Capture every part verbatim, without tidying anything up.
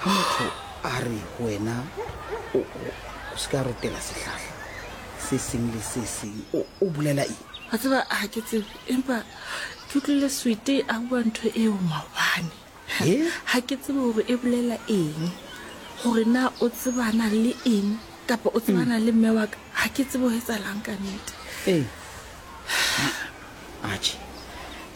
Ha motho a re ho wena o o se ka rotela sehlahla se seng le se seng, o o bolela eng? Wa tseba ha ke tsebe, empa ke utlwile Sweety a bua ntho eo maobane. Eh? Ha ke tsebe hore e bolela eng, hore na o tsebana le eng kapa o tsebana le mme wa ka. Ha ke tsebe ho etsahalang ka nnete. Ee. Atjhe,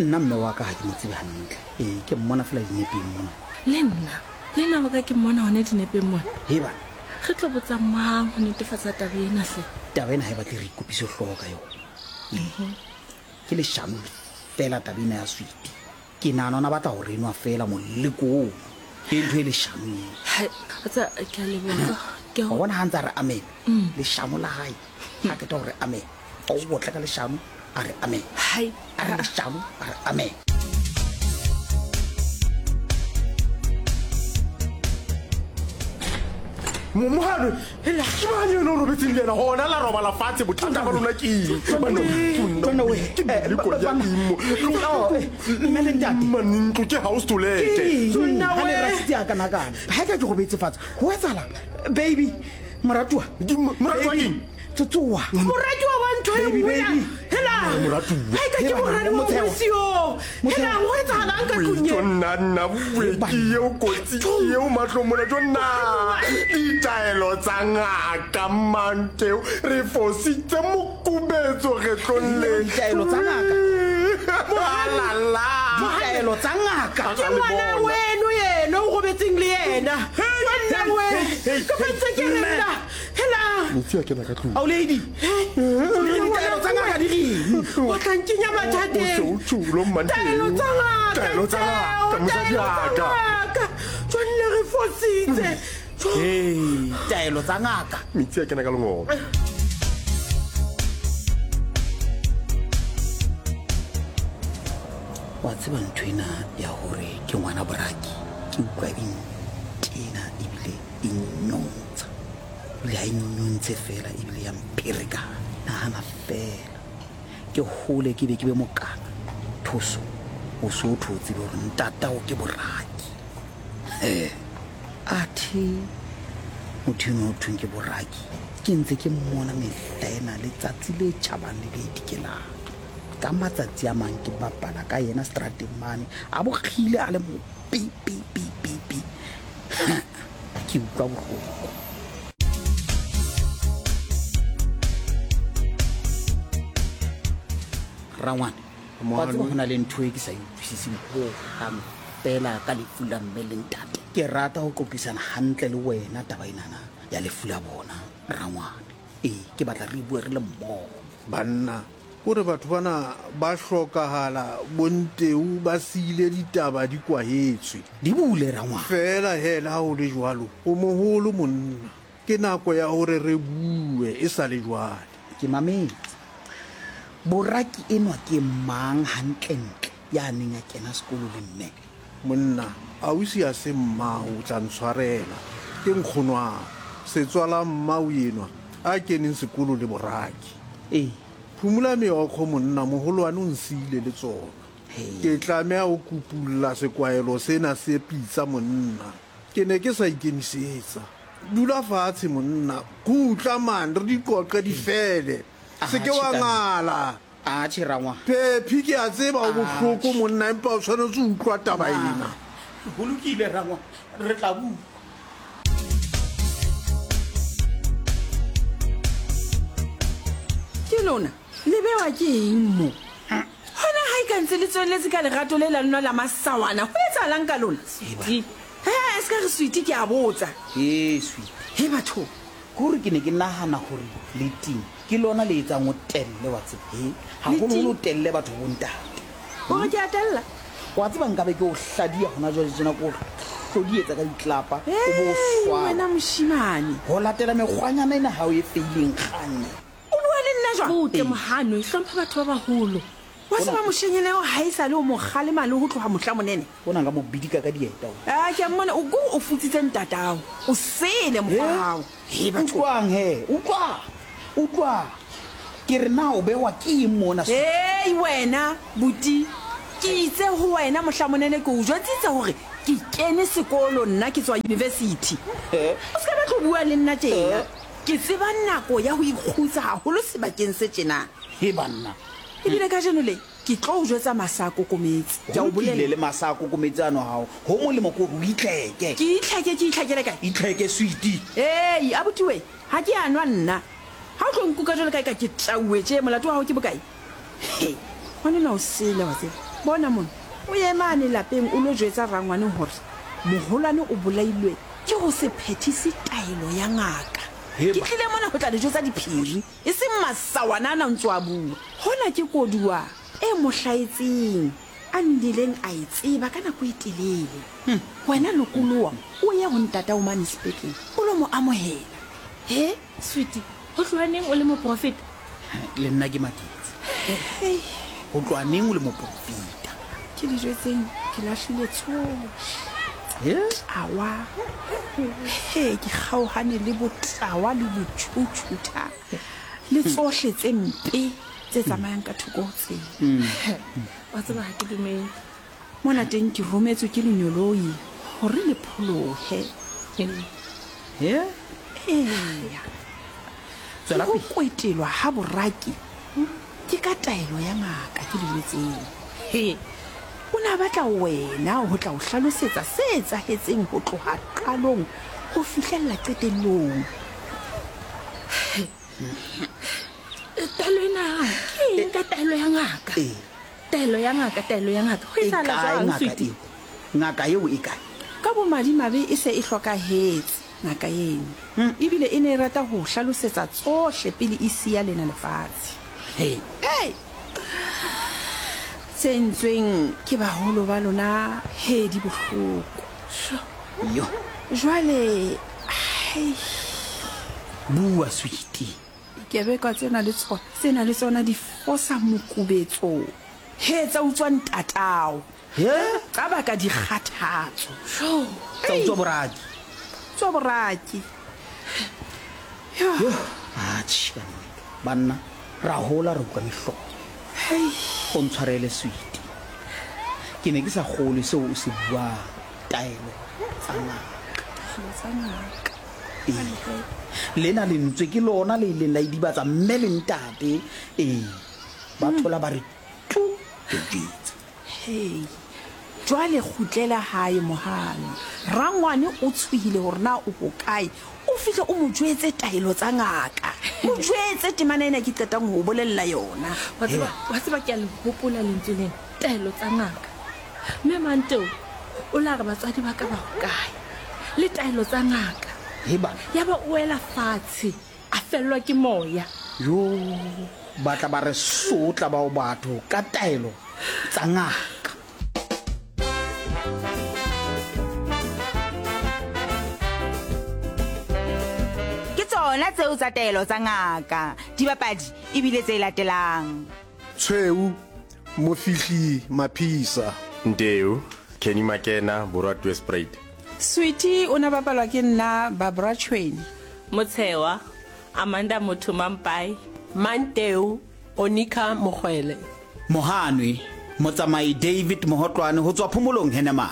nna mme wa ka ha ke mo tsebe hantle. Ee, ke mmona fela dinepeng mona. Le nna, le nna wa ka ke mmona hona dinepeng mona. He bana. Re tlo botsa mang ho netefatsa taba ena hle? Taba ena ha e batle re ikopise hlooho ka yona. Mhm. Ke leshano fela taba ena ya Sweety. Ke nahana o na batla ho re nwa fela moleko oo. Ke ntho e leshano eo. Hai, wa tseba, ke a leboha. Ke a Wa bona ha ntse a re amen. Mm. Leshano la hae. Ha qeta hore amen. A o botla ka leshano, a re amen. Hai. A re leshano, a re amen. Mohale, ke mang eno o robetseng le ena? Hona la robala fatshe, bothata ba lona ke eng? Banna, ke meleko ya eng mo? Mme le ntate. Mane ntlo ke house to let. Ke eng ha le rasitse a kanakana? Ha e ka ke robetse fatshe, ho etsahalang? Baby, moratuwa. Moratuwa Baby, keng? Tsotsoa. Moratuwa wa ntho e Baby, nngwe ya- baby. Hela. Moratuwa. Ha e ka ke Hela, moradi wa Motsheo. ngwetsi yo. Motsheo. Hela, ho etsahalang ka tlung Jo e? nna nna bue ke eo kotsi ke eo mahlong mona jo nna ditaelo tsa ngaka Mmanteo re fositse mokubetso kgetlong le Ditaelo tsa ngaka. Alala. Ditaelo tsa ngaka. Ke ngwana weno yena o robetseng le yena. Jo nna we. Ke fentse ke re nna. Hela. Metsi a kena ka tlung. Ao lady. Ditaelo tsa ngaka di reng? O tla nkenya mathateng. O se o tjhulo, Mmanteo. Taelo tsa ngaka. Taelo tsa ngaka, mosadi Taelo wa tsa ka. ngaka. Jo nna re fositse. Jo. Hey, taelo tsa ngaka. Metsi a kena ka lengolo. Wa tseba ntho ena ya hore ke ngwana boraki, ke utlwa e ntena ebile e nnyontsha. Ebile ha e nnyontshe fela ebile ya mpherekana. Nahana fela, ke hole ke be ke be mokana. Thoso, o so o tho tsebe hore ntatao ke boraki. Eh, athe motho enwa ho thweng ke boraki, ke ntse ke mmona mehla ena letsatsi le tjhabang le le dikelang. Ka matsatsi a mang ke bapala ka yena seterateng mane, a bokgile a le mo pi, pi, pi, pi, pi. Ke utlwa bohloko. Rangwane, wa tseba ho na le ntho e ke sa e utlwisiseng hohang fela ka lefu la mme le ntate. Ke rata ho qoqisana hantle le wena taba enana ya lefu la bona, Rangwane. Ee, ke batla re bue re le mmoho. Banna, hore batho bana ba hlokahala bonteu ba siile ditaba di kwahetswe. Di bule, Rangwane. Fela hela ha ho le jwalo, o moholo monna. Ke nako ya hore re bue e sa le jwale. Ke mametse. Boraki enwa ke mang hantlentle ya neng a kena sekolo le mme? Monna, ausi a se mmao o tla ntshwarela. Ke nkgonwao, setswala mmao enwa a keneng sekolo le boraki. Ee. Phumula meokgo monna, moholwane o nsiile le tsona. Hei. Ke tlameha ho kupulla sekwahelo sena se pitsa monna. Ke ne ke sa ikemisetsa. Dula fatshe monna, kgutla man, re di qoqe di fele. Se ke wa Atjhe, ka- ngala. Atjhe, Rangwane. Phephi ke a tseba o bohloko monna, empa o tshwanetse ho utlwa taba ena. Ho lokile, Rangwane, re tla bua. Ke lona, le bewa ke eng mo? Hona ha e ka ntse le tswelletse ka lerato le la lona la masawana, ho etsahalang ka lona? Sweety. He, se ka re Sweety ke a botsa. He, Sweety. He, batho. Ke hore ke ne ke nahana hore le ting ke lona le etsang o telle wa tseba. He, haholoholo o telle batho bo ntate. O re ke a tella? Wa tseba nkabe ke o hladiya hona jwale tjena, ke o hlodietsa ka ditlapa, o bo o Hei, swaba. wena moshemane. Ho latela mekgwanyana ena ha o e feileng kganye. O bua le nna jwang? Butle, Mohano, hlompha batho ba baholo. Wa tseba moshenyana eo ha e sa le o mo kgalema le ho tloha mohla monene. O na nka mo bidika ka dieta o. Ah, ke a mmona, o ko o futsitse ntatao. O sele mokgwa Eh? hao. He, batho. Utlwang he, utlwa. Utlwa. Ke re na o bewa ke eng mona? Hei, wena, buti. Ke itse ho wena mohla monene ke o jwetsitse hore Ke kene sekolo nna ke tswa university. O se ka batla ho bua le nna tjena. Ke tseba nako ya ho ikgutsa haholo sebakeng se tjena. He banna. Ebile kajeno le ke tlo o jwetsa masa a kokometse. Ke a o Bolele bolella. le masa a kokometse ano hao. Ho molemo ke hore o itlheke. Ke itlheke ke itlhekele kae? Itlheke sweetie. Ei, abuti we, ha ke a nwa nna. Ha o tlo nkuka jwalo ka eka ke tauwe tje, molato wa hao ke bokae? He, ngwanenwa o sele wa tseba. Bona mona, o ye mane lapeng o lo jwetsa rangwane hore moholwane o bolailwe ke ho se phethise taelo ya ngaka. He Ke ba. tlile mona ho tla le jwetsa diphiri, e seng masawana ana a ntso a bua. Hona ke koduwa e mo hlahetseng, a nnileng a e tseba ka nako e telele. Wena lokoloha, o ye ho ntatao mane sepetlele, o lo mo amohela. He? Sweetie, ho tloha neng o le moprofeta? Le nna ke maketse. Hei. Ho tloha neng o le moprofeta? Ke le jwetseng, ke lahlile tsohle. He? Tawa. He, ke kgaohane le botawa le botjhutjhutha le tsohle tse mpe tse tsamayang ka thoko ho tsela. Wa tseba ha ke dumele. Mona teng ke rometswe ke lenyoloi hore le pholohe. He? Eya. Tswela Ho pele. kwetelwa ha boraki ke ka taelo ya ngaka ke le jwetseng. He. O ne a batla wena ho tla o hlalosetsa se etsahetseng ho tloha qalong ho fihlella qetellong. Taelo ena ke eng ka taelo ya ngaka? Ee. Taelo ya ngaka, taelo ya ngaka. Ho E etsahala kae jwang, ngaka sweetie? eo? Ngaka eo e kae? Ka bomadimabe e se e hlokahetse ngaka eno. Ebile e ne e rata ho o hlalosetsa tsohle pele e siya lena lefatshe. He. Ei! Tse entsweng ke baholo ba lona, he, di bohloko. Yo. Jwale, hei, Bua sweetie. dikebekwa tsena le tsona, tsena le tsona di fosa mokubetso. He, tsa utswa ntatao. He? Tsa baka dikgathatso. Tsa utswa boraki. Tswa boraki. Yo. Yo. Atjhe ka nnete. Banna, ra hola re utlwa mehlolo. Hei. O ntshwarele sweetie. Ke ne ke sa kgolwe seo o se buang. Taelo tsa ngaka. Tsa ngaka. Ee. Lena lentswe ke lona le ileng la idibatsa mme le ntate. Ee. Ba thola ba re tu ke jwetse. Hei. Jwale kgutlela hae mohano. Rangwane o tshohile hore na o hokae. O fihle o mo jwetse taelo tsa ngaka. Mo jwetse temana ena ke qetang ho o bolella yona. Wa tseba, wa tseba ke a le hopola lentswe lena, taelo tsa ngaka. Mme Manteo o la re batswadi ba ka ba hokae? Le taelo tsa ngaka. He bana. Ya ba o wela fatshe, a fellwa ke moya. Yo, ba tla ba re sotla bao batho ka taelo tsa ngaka. Ke tsona tseo tsa taelo tsa ngaka. Dibapadi ebile tse latelang. Tshweu, Mofihli Maphisa. Nteu, Kenny Makena, Borwa Tweespruit. Sweetie o na bapalwa ke nna Barbara Tshweni. Motshewa, Amanda Motho Mampai. Manteu, Onika Mokwele. Mohanwe, motsamai David Mohotlwane ho tswa Phomolong Henema.